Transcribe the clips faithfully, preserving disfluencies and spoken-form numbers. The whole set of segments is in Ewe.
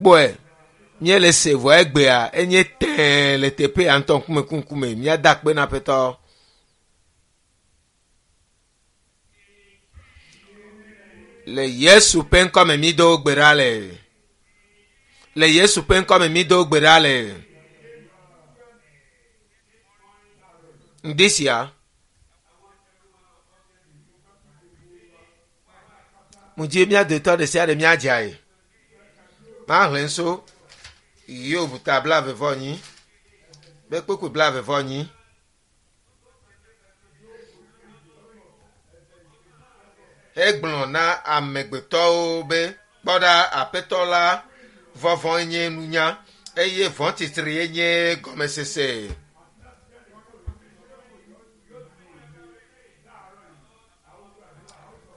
Kpɔe míele se vɔ egbea enye tɛɛ le teƒe ya ŋutɔ ŋkume ku ŋkume míada akpe na Aƒetɔ. Le Yesu ƒe ŋkɔme mi do gbe ɖa le. Le Yesu ƒe ŋkɔme mi do gbe ɖa le. Ŋdi sia. Mudzi mía dometɔ ɖe sia ɖe míadzae. Mahlẽ so Hiob ta blaeve vɔ enyi be kpukpui blaeve vɔ enyi. Egblɔ na amegbetɔwo be kpɔ ɖa Aƒetɔ la vɔvɔ̃e nye nunya eye vɔ̃tsitrie nye gɔmesese.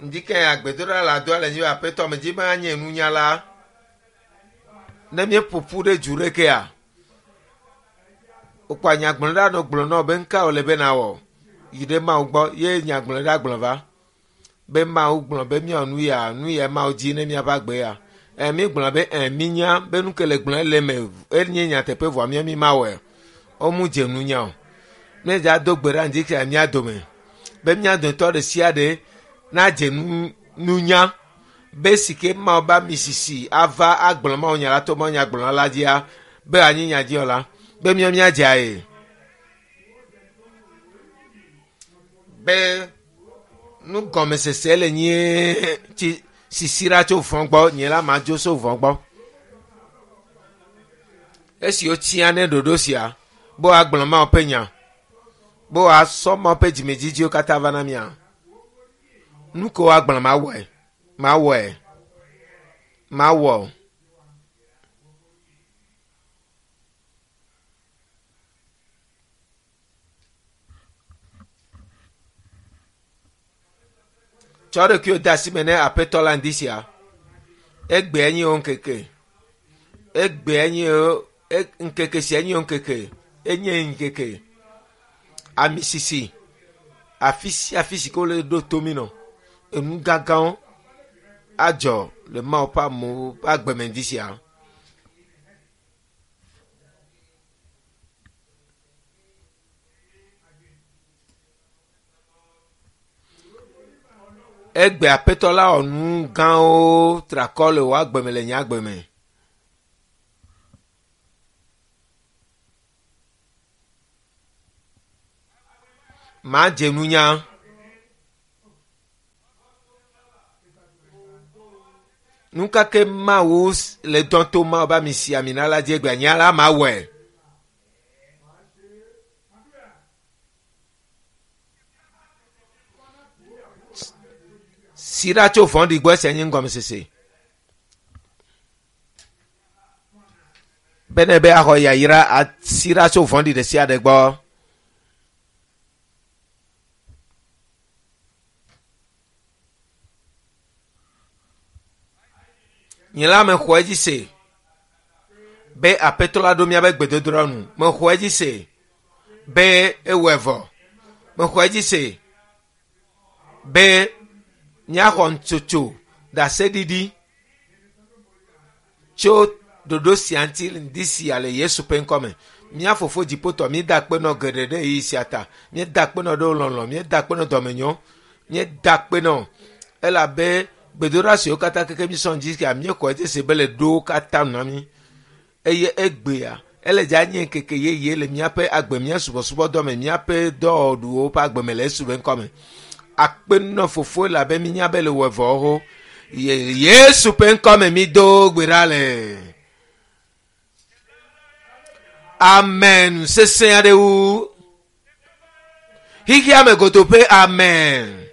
Ŋdi ke agbedoɖa le adoa le nyi be Aƒetɔ medzi be anye nunyala. Ne míeƒo ƒu ɖe du ɖekea, wokpɔ nyagblɔɖa nɔ gblɔ nɔ be ŋka wòle be nawɔ yi ɖe Mawu gbɔ ye nyagblɔɖa gblɔ va be Mawu gblɔ be míawɔ nu ya nu ya Mawu dzi ne míaƒe agbe ya. Ɛ mígblɔ be ɛ mínya be nu ke le gblɔ ele me enye nyateƒe vɔa mía mi mawɔe. Womu dze nunya o. Míedza do gbe ɖa ŋdi sia mía dome be mía dometɔ ɖe sia ɖe nadze nu nunya be si ke Mawu be ami sisi ava agblɔ Mawu nya la to Mawu nya gblɔla la dzia be anyi nya dzi la be mía míadzae. Be nugɔmesese le nye tsi sisi ɖa tso vɔ̃ gbɔ nye la madzo so vɔ̃ gbɔ. Esi wotsia ne ɖoɖo sia be woagblɔ Mawu ƒe nya be woasɔ Mawu ƒe dzimedzidziwo katã va na mía. Nu ke woagblɔ mawɔe mawɔe mawɔ. Tsɔ ɖokuiwò de asi me ne Aƒetɔ la ŋdi sia. Egbea nye wo ŋkeke. Egbea nye wo ŋkeke sia nye wo ŋkeke. Enye ŋkeke. Ami sisi. Afi sia afi si ke wole ɖo to mí nɔ. Enu gãgãwo adzɔ le Mawu ƒe amewo ƒe agbeme ŋdi sia. Egbe Aƒetɔ la wɔ nu gãwo trakɔ le wò agbeme le nye agbeme. Madze nunya. Nu ka ke Mawu le dɔm to Mawu be ami si ami na la dzi egbea nye la mawɔe. Si ɖa tso vɔ̃ɖi gbɔ esia nye ŋgɔmesese. Be ne be axɔ yayra asi ɖa tso vɔ̃ɖi ɖe sia ɖe gbɔ. Nye la mexɔ edzi se be Aƒetɔ la ɖo míaƒe gbedodoɖa nu. Mexɔ edzi se be ewɔe vɔ. Mexɔ edzi se be míaxɔ ntsotso ɖaseɖiɖi tso ɖoɖo sia ŋuti ŋdi sia le Yesu ƒe ŋkɔme. Mía fofo dziƒotɔ míeda akpe nɔ geɖe ɖe ɣeyiɣi sia ta. Míeda akpe nɔ ɖe lɔlɔ̃, míeda akpe nɔ dɔmenyo, míeda akpe nɔ elabe gbedoɖa siwo katã keke mísɔ ŋdi sia míexɔ edzi se be le ɖo katã nu na mí. Eye egbea ele dza nye ŋkeke yeye le míaƒe agbe, mía subɔsubɔdɔ me, míaƒe dɔwɔɖuwo ƒe agbe me le Yesu ƒe ŋkɔme. Akpe nɔ fofo elabe mínya be le wɔ vɔ xoxo. Yesu ƒe ŋkɔme mi do gbe ɖa le. Amen. Sesẽ aɖe wu. Xexea me godo ƒe amen.